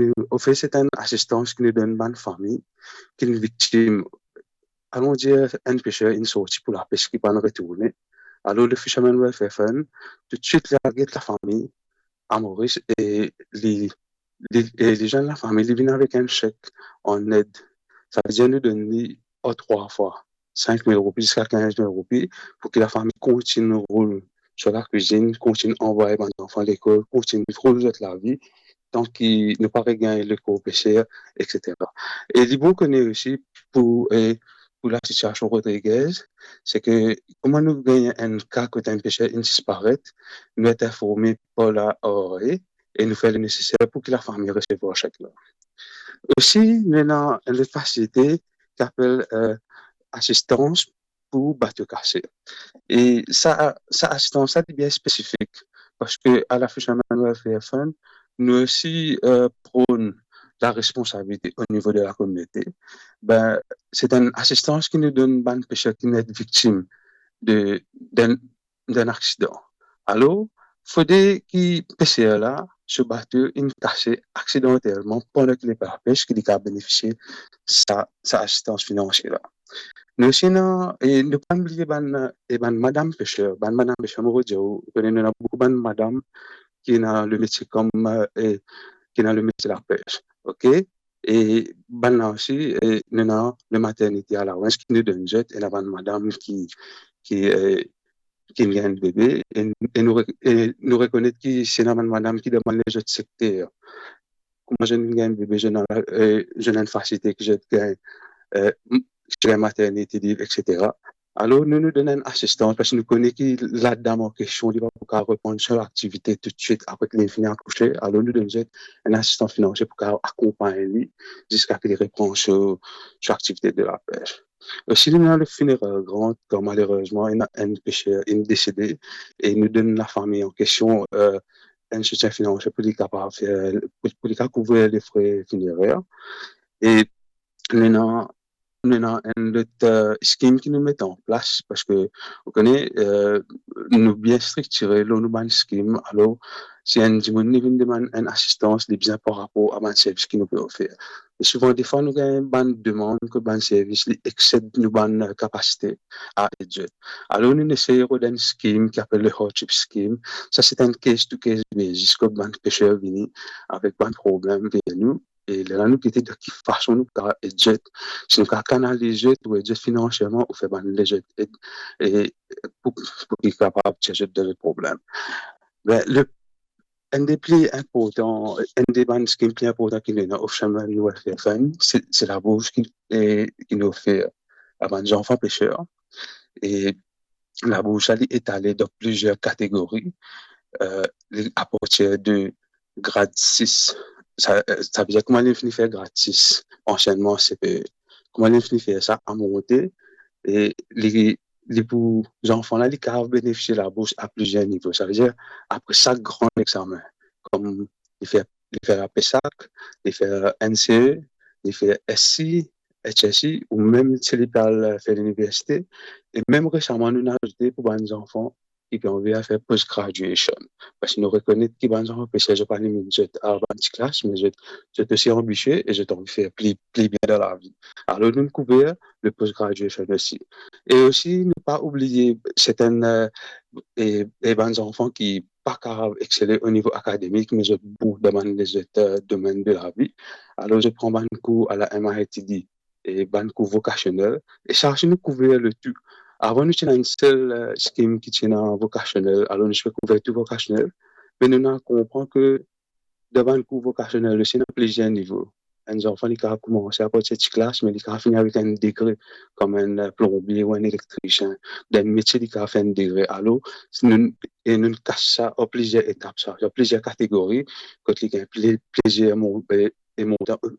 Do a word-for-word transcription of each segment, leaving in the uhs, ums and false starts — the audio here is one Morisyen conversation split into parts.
nou ofer sertenn asistans ki nou donn bann fami ki finn viktim, alon dir, enn peser inn sorti pou lapes ki pa'nn retourne. Alor, le Fisherman Welfare Fund, toutswit, li al get lafami a Moris e li, li, e li zwenn lafami, li vinn avek enn sek an ed. Savedir nou donn li an trwa fwa, sink mil roupi ziska kinz mil roupi, pou ki lafami kontign roul so lakwizinn, kontign anvway bann zanfan lekol, kontign roul zot lavi, tan ki nou pa regagn lekor peser, etsetera. E li bon kone osi pou, e, pou lasitiasion Rodriguez, se ke kouma nou gagn enn ka kot enn peser inn disparet, nou et informe par la R R A e nou fer le neseser pou ki lafami resevwar sek la. Osi, nou ena enn lot fasilite ki apel, eh, asistans pou bato kase. E sa, sa asistans la, li bien spesifik, parski a la Fisherman Welfare Fund, nou osi, eh, pron laresponsabilite o nivo de lakominote. Be, se enn asistans ki nou donn bann peser ki finn viktim de, d'enn, d'enn aksidan. Alor, fode ki peser la, so bato inn kase aksidantelman pandan ki li pe pes, ki li kapav benefisie sa, sa asistans finansie la. Nou osi ena, e nou pa bliye bann, e bann madam peser, bann madam peser, mo pou dir, ou kone, nou ena boukou bann madam ki ena lemetie kom, e ki ena lemetie lapes, ok? E bann la osi, e nou ena le maternity allowance ki nou donn zot, ena bann madam ki, ki, e, ki gagn bebe, e, e nou re-, e nou rekonet ki si ena bann madam ki dan bann lezot sekter, kouma zot gagn bebe, zot ena, e, zot ena enn fasilite ki zot gagn, e, m-, ki zot gagn maternity leave, etsetera. Alor, nou, nou donn enn asistans, parski nou kone ki ladam an kestion, li pa pou kapav reponn so aktivite toutswit apre ki li fini akouse. Alor, nou donn zot enn asistans finansie pou kapav akonpagn li ziska ki li repran so, so aktivite de lapes. Osi, nou ena le funeral grant, kan malerezman, ena enn peser inn desede, e nou donn lafami an kestion, e, enn soutien finansie pou li kapav fer, pou, pou li kapav kouvrir le fre finerer. E nou ena, nou ena enn lot, e, skim ki nou met an plas, parski, ou kone, e, nou bien striktire lor nou bann skim. Alor, si enn dimoun li vinn demann enn asistans, li bizin par rapor a bann servis ki nou pe ofer. E souvan, defwa, nou gagn bann demann kot bann servis li exsed nou bann, e, kapasite a ed zot. Alor, nou esey rod enn skim ki apel le hardship scheme. Sa, se enn case to case basis, kot bann peser vini avek bann problem ver nou. E lerla nou gete dan ki fason nou kapav ed zot, si nou kapav kanaliz zot ou ed zot finansierman ou fer bann lezot ed, e pou, pou ki kapav tir zot dan zot problem. Be, le, enn de pli inportan, enn de bann skim pli inportan ki nou ena o Fisherman Welfare Fund, se, se labours ki, e, ki nou ofer a bann zanfan peser. E labours la, li etale dan plizier kategori, e, li apartir de grad sis. Sa, e, savedir kouma li fini fer grad sis, ansienneman C P E. Kouma li fini fer sa, a monte, e li, li pou zanfan la, li kapav benefisie labours a plizier nivo. Savedir, apre sak gran examen, kom li fer, li fer la PSAC, li fer N C E, li fer S C, H S C, ou mem si li pe al fer liniversite. E mem resaman, nou inn azoute pou bann zanfan ki pe anvi al fer post graduation. Parski nou rekonet ki bann zanfan peser, zot pa limit zot a bann ti klas, me zot, zot osi anbisie e zot anvi fer pli, pli bien dan lavi. Alor, nou kouver le post graduation osi. E osi, nou pa oubliye sertenn, e, e, e bann zanfan ki pa kapav exsele o nivo akademik, me zot bon dan bann lezot, e, domenn de lavi. Alor, zot pran bann kour a la M I T D, e bann kour vokasionel. E sa osi, nou kouver le tou. Avan, nou ti ena enn sel, e, skim ki ti ena vokasionel, alor nou ti pe kouver tou vokasionel. Me nou inn konpran ke dan bann kour vokasionel osi, ena plizier nivo. Enn zanfan, li kapav koumanse apartir ti klas, me li kapav fini avek enn degre, kom enn, e, plonbie ou enn elektrisien. Dan enn metie, li kapav fer enn degre. Alor, nou, e nou kas sa an plizier etap, sa, an plizier kategori, kot li gagn pli-, plizier mon-, e, e montan,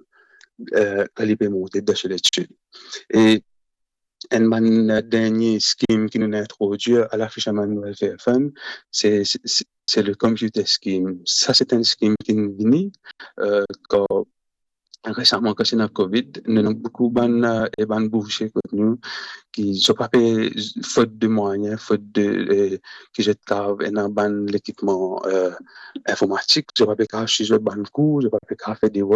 e, kan li pe monte dan so letid. E enn bann dernie skim ki nou introdwir a la Fisherman Welfare Fund, se, se, se, se le computer scheme. Sa, se enn skim ki vini, e, kan, resaman, kan ti ena Covid, nou ena boukou bann, e, e bann boursie kot nou, ki zot pa pe, fot de mwayen, fot de, e, ki zot kapav ena bann lekipman, e, informatik, zot pa pe kapav swiv zot bann kour, zot pa pe kapav fer devoir,